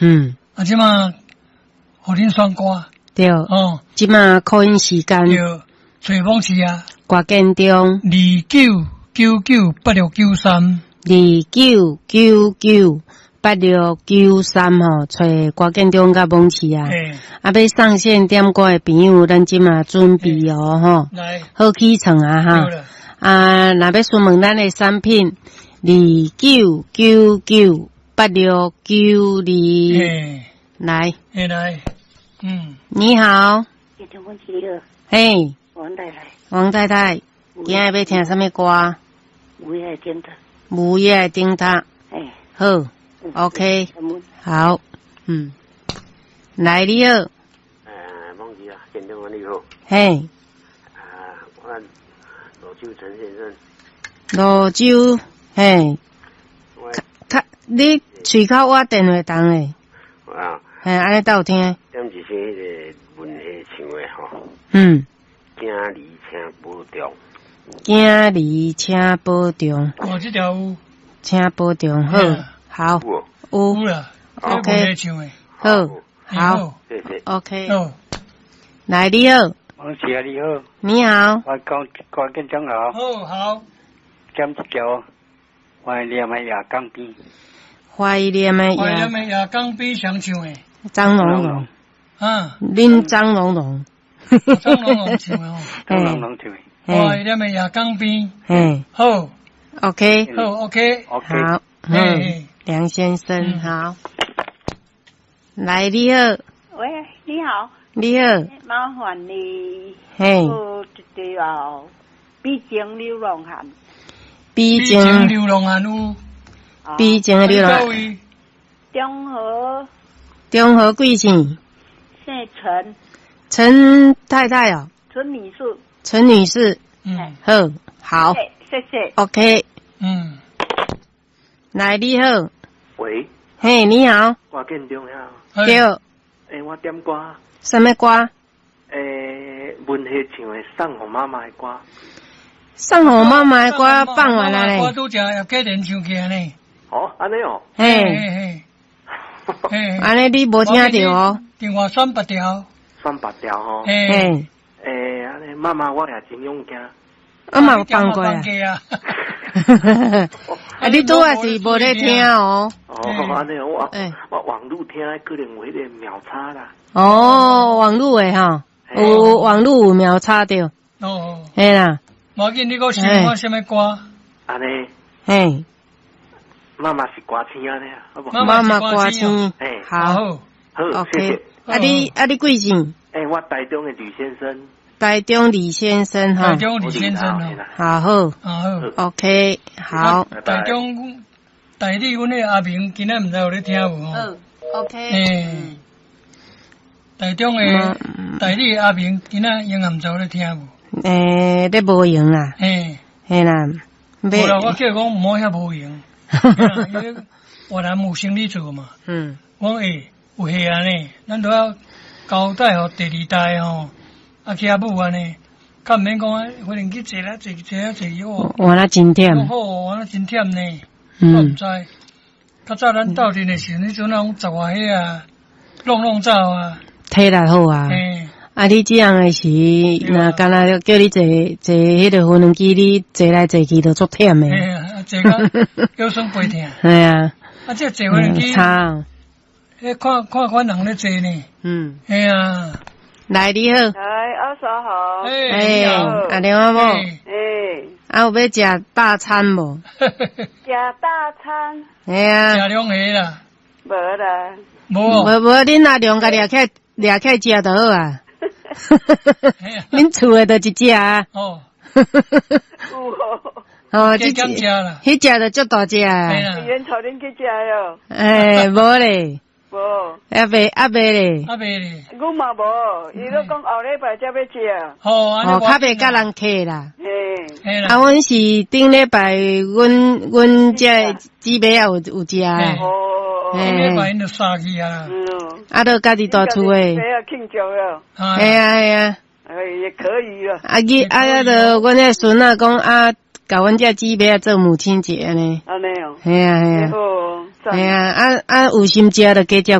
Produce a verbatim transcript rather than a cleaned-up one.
嗯，啊，這馬予恁選歌，對，哦，這馬 call in 時間，對，揣網市啊，歌建中，二九九九八六九三，二九九九八六九三吼，揣歌建中佮網市啊，啊，欲上線點歌的朋友，咱這馬準備哦，吼，來，好起床啊，哈，啊，若欲詢問咱的產品，二九九九八六九二，來，來，嗯，你好，嘿，王太太，王太太，今仔欲聽啥物歌？午夜燈塔，午夜燈塔，哎，好，OK，好，嗯，來你好，呃，忘記啊，建中你好，嘿，啊，我羅州陳先生，羅州，嘿，較你喙口倚電話筒的，啊，嘿，按呢才有聽。點一首彼个文夏唱的吼，嗯，囝兒請保重，囝兒請保重，哦，這條有，請保重，好，好，有啦，OK，好，好謝謝，OK，來你好，王姐你好，你好，我講歌建中好，好好，點一條懷念的夜江邊，懷念的懷念的夜江邊誰唱的？張龍龍，啊，恁張龍龍，張龍龍唱的哦，張龍龍唱的，懷念的夜江邊，嗯，好，OK，好，OK，好，嗯，梁先生好，來你好，喂，你好，你好，麻煩你，嘿，一條悲情流浪漢，悲情流浪漢有，悲情的流浪漢，中和，中和貴姓？姓陳，陳太太哦，陳女士，陳女士，嗯，好，好，謝謝，OK，嗯，來你好，喂，嘿，你好，歌建中呀，對，欸，我點歌，啥物歌？欸，文夏唱的《送予媽媽的歌》，送予媽媽的歌放完了咧，我拄才葉繼蓮唱起來呢，哦，按呢哦，嘿，嘿，嘿，按呢你無聽著哦，電話選別條，選別條吼，嘿，欸，按呢媽媽我也真勇敢，啊嘛有放過啊，啊你拄仔是無咧聽哦，哦，按呢我我網路聽可能有彼个秒差啦，哦，網路的吼，有網路有秒差著，哦，嘿啦，無要緊，你閣想看啥物歌？按呢，嘿，媽媽是歌星按呢，好無？媽媽歌星，好，好，OK，啊你啊你貴姓？欸，我台中的呂先生。台中李先生哈，台中李先生哦，好好，好，OK，好。台中代理阮的阿明今仔毋知有咧聽無吼？OK，欸，台中的代理阿明今仔應該毋知有咧聽無？欸，咧無閒啦，嘿，嘿啦，無啦，我叫伊講毋好遐無閒，因為越南有生理做嘛，嗯，我講欸有戲按呢，咱都要交代予第二代吼。啊，去遐舞按呢，較毋免講啊，反正去坐啦，坐坐啊坐去哦。換啊真忝。好，換啊真忝呢。嗯。我毋知，較早咱鬥陣的時陣，彼陣攏十外歲啊，挵挵走啊。體力好啊。嘿。啊，你這樣的時，若敢若叫你坐坐彼个無人機，你坐來坐去都足忝的。嘿啊，坐到腰酸背疼。嘿啊。啊，這坐無人機。差。彼看看款人咧坐呢。嗯。嘿啊。來你好，來阿嫂好，欸，阿娘阿某，欸，啊有欲食大餐無？食大餐，嘿啊，食兩下啦，無啦，無，無無，恁阿娘共掠起來掠起來食就好啊。恁厝的就一隻啊。哦，有哦，哦，這加減食啦，彼隻就足大隻啊。緣頭恁去食喲。欸，無咧。無，猶未猶未咧，猶未咧，阮嘛無，伊都講後禮拜才欲食。哦，哦，較袂佮人客啦。嘿，啊，阮是頂禮拜，阮阮這姊妹仔有有食。哦，頂禮拜𪜶就殺去啊。啊，都家己蹛厝的。啊，慶祝了。嘿啊嘿啊。哎，也可以啊。啊，伊啊，啊，就阮彼孫仔講啊，共阮這姊妹仔做母親節按呢。按呢哦。嘿啊嘿啊。好。嘿啊，啊啊，有心食就加食。